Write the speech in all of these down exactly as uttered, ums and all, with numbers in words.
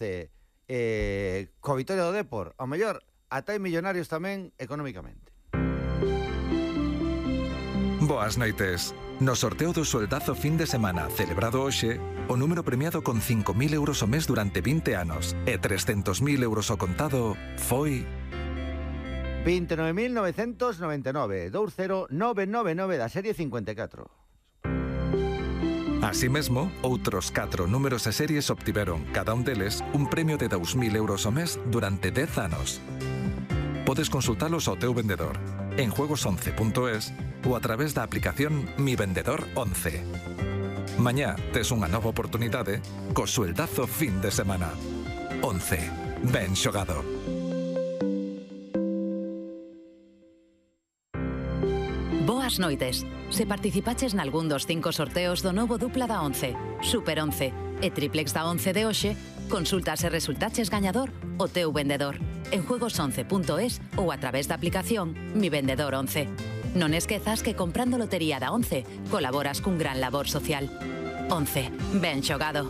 once eh, co vitoria do Depor, ao mellor ata hai millonarios tamén económicamente. Boas noites. No sorteo do soldazo fin de semana celebrado hoxe, o número premiado con cinco mil euros ao mes durante vinte anos e trescentos mil euros ao contado foi... vinte e nove mil novecentos noventa e nove, vinte mil novecentos noventa e nove da serie cincuenta e catro. Así mesmo, outros catro números e series obtiveron, cada un deles, un premio de dous mil euros ao mes durante dez anos. Podes consultalos ao teu vendedor, en juegos once punto es ou a través da aplicación Mi Vendedor once. Mañá tes unha nova oportunidade co sueldazo fin de semana. once. Ben xogado. Boas noites. Se participaches nalgún dos cinco sorteos do novo dupla da once, Super once e Triplex da once de hoxe, consulta se resultaches gañador o teu vendedor en juegos once punto es ou a través da aplicación Mi Vendedor once. Non esquezas que comprando lotería da once colaboras cun gran labor social. once. Ben xogado.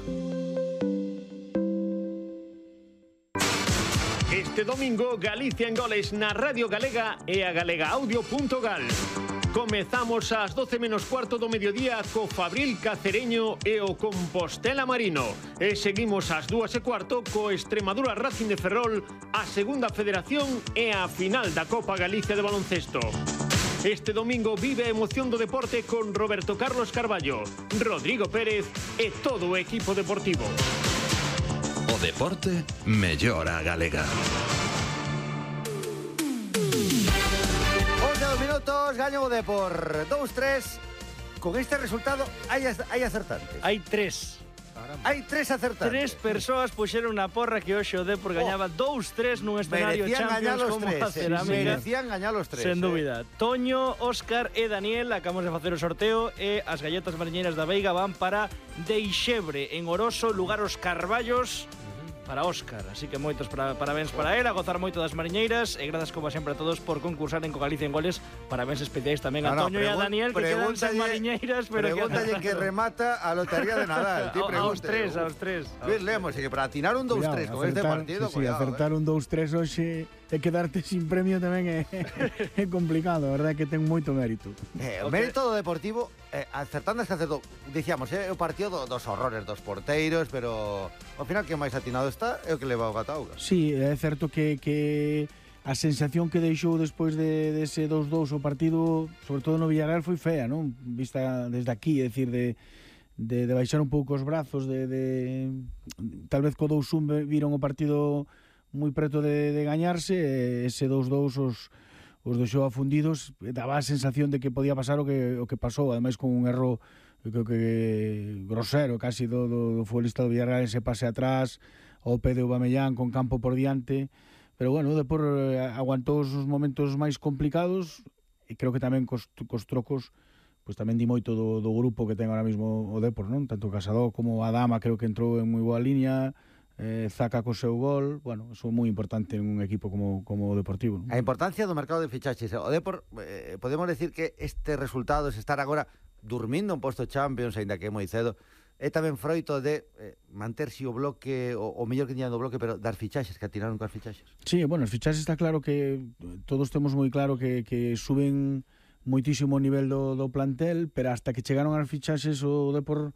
Este domingo, Galicia en goles na Radio Galega e a galega audio punto gal. Comezamos ás doce menos cuarto do mediodía co Fabril Cacereño e o Compostela Marino. E seguimos ás dúas e cuarto co Extremadura Racing de Ferrol, a Segunda Federación e a final da Copa Galicia de baloncesto. Este domingo vive a emoción do deporte con Roberto Carlos Carballo, Rodrigo Pérez e todo o equipo deportivo. O deporte mellora a galega. Minutos, gaño o Depor dous tres. Con este resultado hai, hai acertantes. Hai tres. Hai tres acertantes. Tres persoas puxeron na porra que hoxe o Depor gañaba dous tres nun escenario Champions como a Cerámica. Merecían gañar os tres. Sen dúbida. Eh. Toño, Óscar e Daniel acabamos de facer o sorteo e as galletas mariñeiras da Veiga van para Deixebre, en Oroso, lugar os Carballos. Para Óscar, así que moitos para, parabéns para él, a gozar moito das mariñeiras e grazas como sempre a todos por concursar en Co Galicia en Goles. Parabéns especiais tamén a no, Toño no, e a Daniel que quedan sen mariñeiras, pero pregúntalle que, que remata a lotería de Nadal. Ti aos tres, aos tres. Luis Lemos, e que para atinar un dous tres con este partido, sí, sí, cuidado, acertar eh. un dous tres hoxe e quedarte sin premio tamén é, é complicado, a verdade é que ten moito mérito. Eh, o okay. Mérito do Deportivo, eh, acertando es que acertou, dicíamos, é eh, o partido do, dos horrores dos porteiros, pero ao final que máis atinado está é o que leva o Gatauga. Sí, é certo que, que a sensación que deixou despois de, de ese dous dous o partido, sobre todo no Villarreal, foi fea, non? Vista desde aquí, é dicir, de, de, de baixar un pouco os brazos, de, de tal vez co dous un viron o partido moi preto de, de gañarse, e ese dous dous os, os deixou afundidos, daba a sensación de que podía pasar o que, o que pasou, ademais con un erro creo que grosero casi do, do, do futbolista do Villarreal, ese pase atrás ao pé de Aubameyang con campo por diante, pero bueno, Depor aguantou os momentos máis complicados e creo que tamén cos, cos trocos pois tamén di moito do, do grupo que ten ahora mismo o Depor, non? Tanto Casado como Adama creo que entrou en moi boa línea, eh, Zaca co seu gol, bueno, eso é moi importante en un equipo como, como o Deportivo, non? A importancia do mercado de fichaxes. O Depor, eh, podemos decir que este resultado es estar agora dormindo un posto Champions, ainda que é moi cedo, é tamén froito de eh, manterse o bloque, o, o mellor que tiñan do bloque, pero dar fichaxes, que atiraron coas fichaxes. Sí, bueno, os fichaxes está claro que todos temos moi claro que, que suben moitísimo o nivel do, do plantel, pero hasta que chegaron as fichaxes o Depor,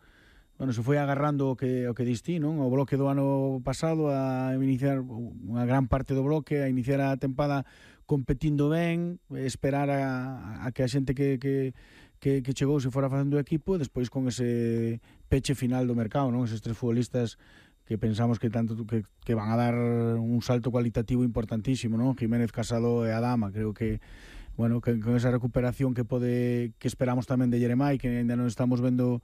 bueno, se foi agarrando o que, o que distí, non? O bloque do ano pasado a iniciar unha gran parte do bloque, a iniciar a tempada competindo ben, esperar a, a que a xente que, que Que, que chegou se fora facendo o equipo e despois con ese peche final do mercado, non? Eses tres futbolistas que pensamos que tanto que, que van a dar un salto cualitativo importantísimo, non? Jiménez, Casado e Adama, creo que bueno, que con esa recuperación que pode que esperamos tamén de Jeremai, que ainda non estamos vendo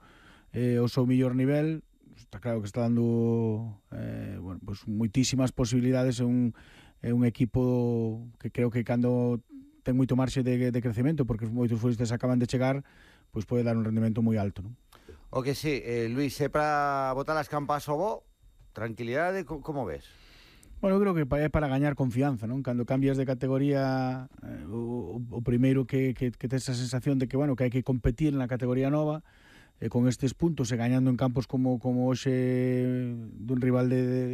eh, o seu mellor nivel, está claro que está dando eh, bueno, pues moitísimas posibilidades en un, en un equipo que creo que cando ten moito marxe de, de crecemento, porque moitos futbolistas acaban de chegar, pois pode dar un rendemento moi alto, non? O que sí, eh, Luis, é para botar as campas ao bo, tranquilidade, como ves? Bueno, eu creo que é para gañar confianza, non? Cando cambias de categoría, eh, o, o primeiro que, que, que tes esa sensación de que, bueno, que hai que competir na categoría nova, eh, con estes puntos e gañando en campos como, como hoxe dun rival de, de